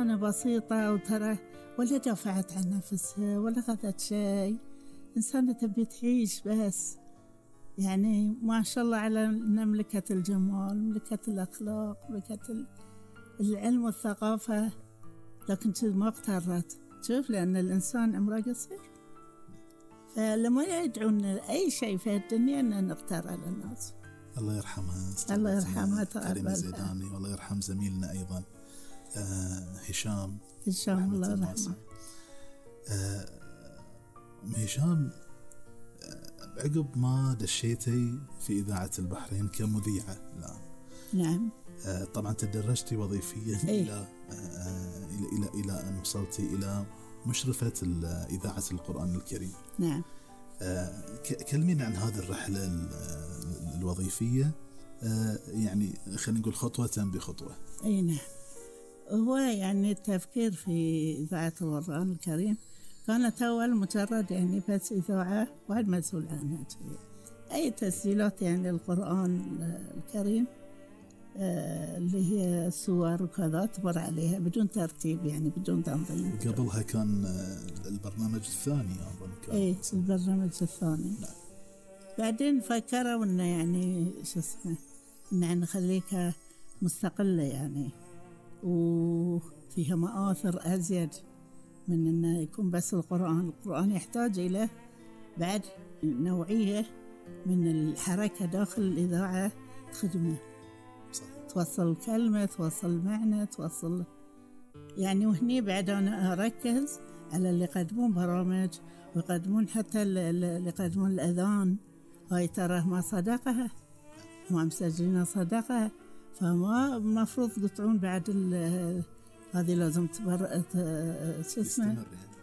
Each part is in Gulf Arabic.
أنا بسيطة وترى ولا دافعت عن نفسها ولا أخذت شيء، إنسانة تبي تعيش بس. يعني ما شاء الله على ملكة الجمال، ملكة الأخلاق، ملكة العلم والثقافة، لكن ما اغترت. شوف، لأن الإنسان عمره قصير، فلما يدعون أي شيء في الدنيا أن نغتر على الناس. الله يرحمها. الله يرحمها كريمة زيداني، والله يرحم زميلنا أيضا هشام الله يرحمه. هشام، عقب ما دشيتي في إذاعة البحرين كمذيعة الآن. نعم. طبعا تدرجتي وظيفيا إلى أن وصلتي إلى مشرفة إذاعة القرآن الكريم. نعم. كلمينا عن هذه الرحلة الوظيفية، يعني خلينا نقول خطوة بخطوة. أي نعم. هو يعني التفكير في إذاعة القرآن الكريم كانت أول مجرد يعني بس إذاعة واحد مسؤول عنها، أي تسجيلات يعني القرآن الكريم اللي هي صور وكذا تمر عليها بدون ترتيب، يعني بدون تنظيم. قبلها كان البرنامج الثاني أظن كان. إيه، البرنامج الثاني. نعم. بعدين فكروا إنه يعني شو اسمه، إنه نخليك مستقلة يعني، وفيها مآثر أزيد من إنه يكون بس القرآن يحتاج إلى بعد نوعية من الحركة داخل الإذاعة خدمة. صحيح. توصل كلمة، توصل معنى، توصل يعني. وهني بعد أنا أركز على اللي يقدمون برامج ويقدمون حتى اللي يقدمون الأذان، هاي ترى ما صدقها، ما مسجلين صدقها، فما مفروض يقطعون بعد هذه لازم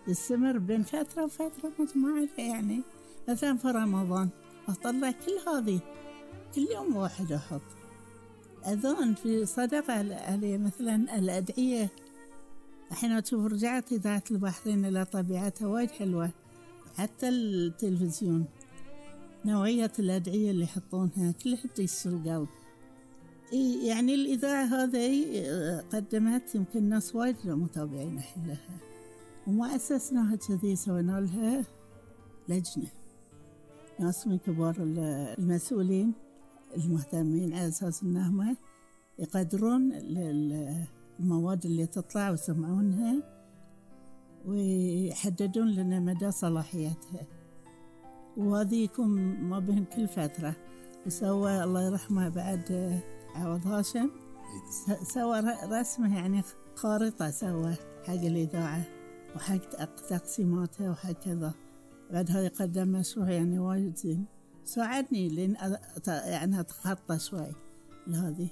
تستمر بين فترة وفترة مجموعة. يعني مثلا في رمضان أطلع كل هذه، كل يوم واحد أحط أذان في صدقة عليه. مثلا الأدعية، الحين أشوف رجعت إذاعة البحرين إلى طبيعتها وايد حلوة، حتى التلفزيون نوعية الأدعية اللي يحطونها كلها تيسر القلب. يعني الإذاعة هذه قدمت يمكن ناس وايد متابعين لها، وما أسسناها كذي، سوينا لها لجنة، ناس من كبار المسؤولين المهتمين، على أساس أنهم يقدرون المواد اللي تطلع ويسمعونها ويحددون لنا مدى صلاحيتها، وهذه يكون ما بين كل فترة. وسوى الله يرحمه بعد عوض هاشم، سوى رسمه يعني خارطة، سوى حق الإذاعة وحق تقسيماتها وهكذا. بعدها يقدم مشروع يعني وايد زين، ساعدني لين يعني أتخطى شوي لهذه.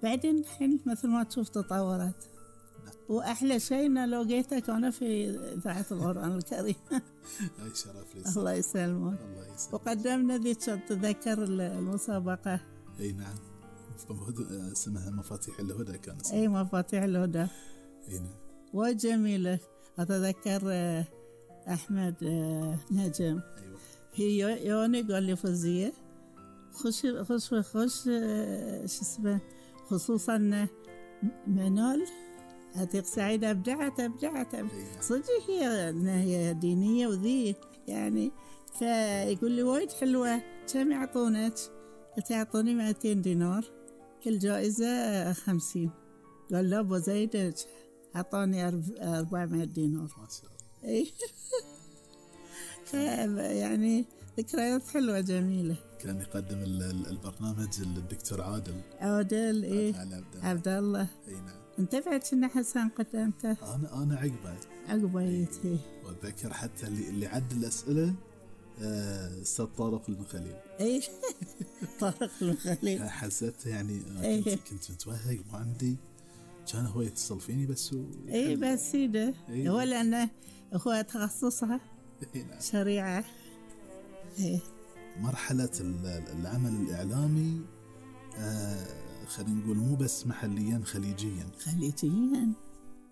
بعدين الحين مثل ما تشوف تطورت، وأحلى شيء إن لو جيتك أنا في إذاعة القرآن الكريم. أي شرف لي. الله يسلمك. وقدمنا ذي تذكر المسابقة. أي نعم، اسمها مفاتيح الهدى كان اسمها. أي مفاتيح الهدى. أي نعم. وجميلة. أتذكر أحمد نجم. أيوة. هي يوني قال لي فوزية خش شو اسمه، خصوصا منال عتيق سعيد أبدعت صدق. هي دينية وذي يعني، فيقول لي وايد حلوة، كم يعطونك؟ قلت يعطوني 200 دينار، كل جائزة 50. قال لا بزيدك، عطاني 400 دينار. ما شاء الله. يعني ذكريات حلوة جميلة. كان يقدم البرنامج الدكتور عادل. إيه، عبد الله. اي نعم. انت بعد كنا حسن قدمته. انا عقبه. إيه. واتذكر حتى اللي عد الاسئله استاذ طارق المخليل. اي طارق المخليل. حسيت يعني كنت متوهق ما عندي، كان هو يتصل فيني بس اي بس سيده. هو لانه هو تخصصها شريعه. مرحلة العمل الإعلامي خلينا نقول مو بس محليا، خليجيا.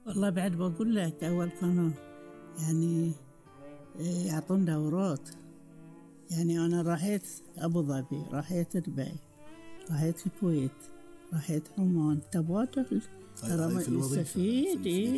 والله بعد بقول لك، أول كانوا يعني يعطون دورات. يعني أنا راحت أبو ظبي، راحت دبي، راحت الكويت، راحت عمان، تبادل ترى يستفيد.